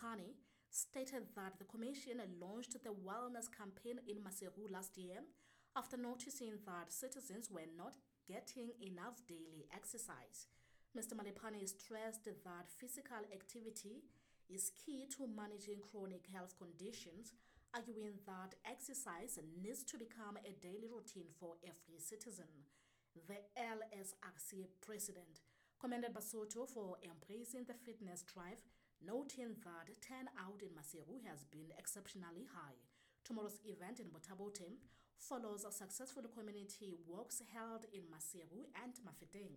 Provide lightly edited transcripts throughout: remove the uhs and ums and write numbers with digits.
Malephane, stated that the commission launched the wellness campaign in Maseru last year after noticing that citizens were not getting enough daily exercise. Mr. Malephane stressed that physical activity is key to managing chronic health conditions, arguing that exercise needs to become a daily routine for every citizen. The LSRC president commended Basotho for embracing the fitness drive, noting that turnout in Maseru has been exceptionally high. Tomorrow's event in Botha-Bothe follows successful community walks held in Maseru and Mafeteng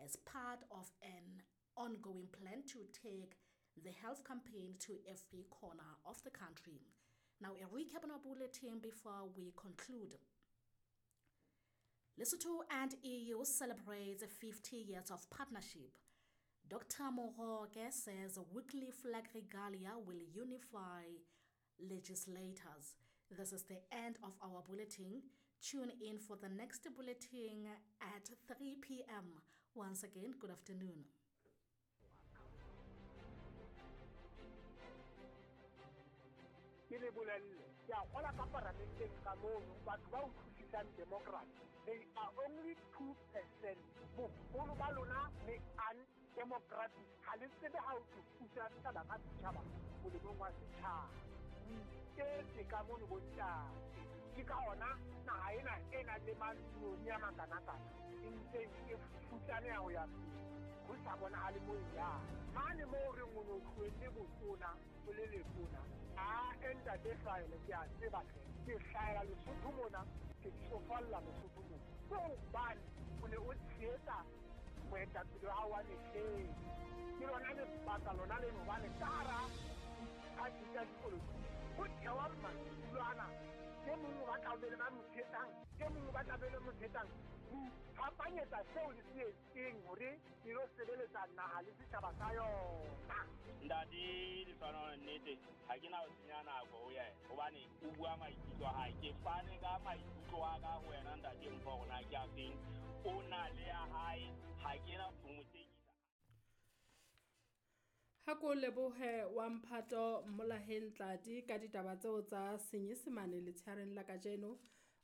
as part of an ongoing plan to take the health campaign to every corner of the country. Now, a recap on our bulletin before we conclude. Lesotho and EU celebrates 50 years of partnership. Dr. Moroke says weekly flag regalia will unify legislators. This is the end of our bulletin. Tune in for the next bulletin at 3 p.m. Once again, good afternoon. Ke le bolelle ke a gola ka paramenteng ka mono batho ba utlwisisang democracy, they are only 2%. Bogolo ba lona le undemocratic, ga le tsebe ga o tlo pusa setšhaba ka setšhaba molemong wa setšhaba. O iketse ka mono bontate, ke ka ona naga ena e nang le mantsione a makanakana e ntseng e futsaneya go ya pele go sa bonagale mo e yang mane mo o reng o ne o tlohelle botona o le letona. A ntate hlwaele ke a tseba hle ke hlahela Lesotho mona, ke tsofalla Lesotho mona ke hobane o ne o tshehetsa moetapele wa hao wa mehleng. Ke lona lebaka lona leno hobane ka hara diphathi tsa dipolotiki ho thewa madulo ana, e mong o batla ho be le ba mo tshehetsang, e mong o batla be le mo tshehetsang, ho iphapanyetsa seo le se etseng hore le lo sebeletsa naha le setjhaba sa yona. Ntate Lefano, nnete ha ke na ho senya nako ho yena hobane o bua maikutlo a hae. Ke fane ka maikutlo a ka ho wena ntate Mpho hore na ke a feng, o na le ya hae, ha ke na ho mo tekisa. Ha ko lebohe wa mphato Mmolaheng Tladi ka ditaba tseo tsa Senyesemane letshehareng la kajeno.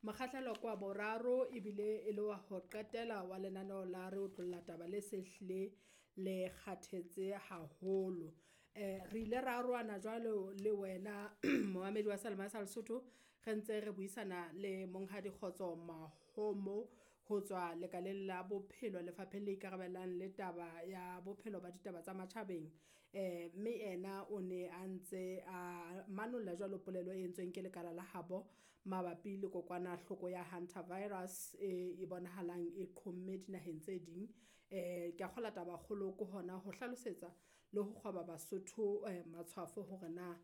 Mokgahlelo kwa boraro ebile e le wa ho qetela wa lenaneo la re otlolla taba le se hlile le kgathetse haholo. Re ile ra arohana jwalo le wena momamedi wa Salema sa Lesotho, re ntse re buisana le Monghadi Kgotso Mahomo ho tswa lekaleng la bophelo lefapheng le ikarabellang le taba ya bophelo ba ditaba tsa matjhabeng. Mme ena o ne a ntse a manolla jwalo polelo e entsweng ke lekala la habo mabapi le kokwanahloko ya hantavirus e bonahalang e qhomme dinaheng tse ding. Ke a kgola taba kgolo ke hona ho hlalosetsa le ho kgwaba Basotho matshwafo hore na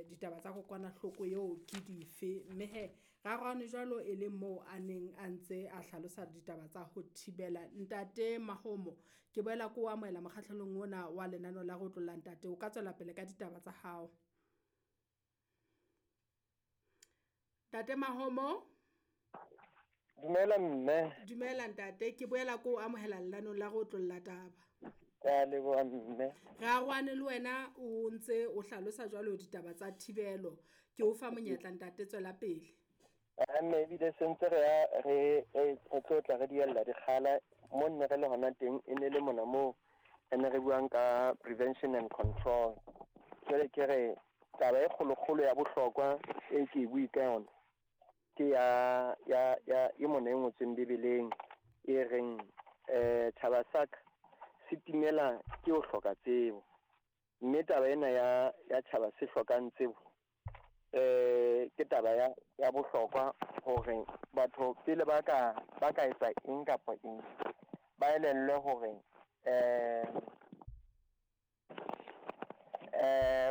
ditaba tsa kokwanahloko eo ke dife. Mme he ra arohane jwalo e le moo a neng a ntse a hlalosa ditaba tsa ho thibela. Ntate Mahomo, ke boela ko amohela mokgahlelong ona wa lenaneo la go otlolla ntate, o ka tswela pele ka ditaba tsa hao. Ntate Mahomo. Dumela mme. Dumela ntate, ke boela ko amohela lenaneo la go otlolla taba. Ke a leboha mme. Re arohane le wena o ntse o hlalosa jwalo ditaba tsa thibelo. Ke o fa monyetla ntate, tswela pele. Mme ebile sentse re ya re re tlotla re diella dikgala mo nne re le hona teng e ne le mona moo re ne re buang ka prevention and control. Jwale ke re taba e kgolokgolo ya bohlokwa e ke e bui ka yona ke ya ya ya e mona e ngotsweng Bibeleng e reng tjhaba sa ka se timela ke ho hloka tsebo. Mme taba ena ya ya tjhaba se hlokang tsebo ke taba ya bohlokwa hore batho pele ba ka etsa eng kapa eng ba elellwe hore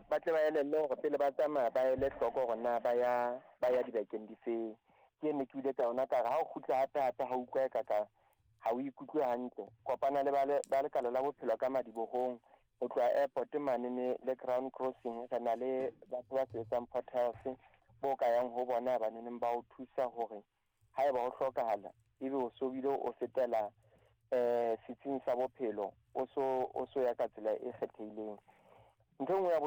ba tle ba elellwe hore pele ba tsamaya ba ele hloko hore na ba ya dibakeng difeng. Ke ne ke ile ka yona ka re ha o kgutla hape hape ha utlwa ka ka ha o ikutlwe hantle, kopana le ba lekala la bophelo ka madibohong ho tloha airport mane le Crown Crossing. Re na le batho ba sebetsang Port Health bo ka yang ho bona ba neng ba o thusa hore haeba ho hlokahala ebe o so bile o fetela setsing sa bophelo o so ya ka tsela e kgethehileng. Ntho e nngwe ya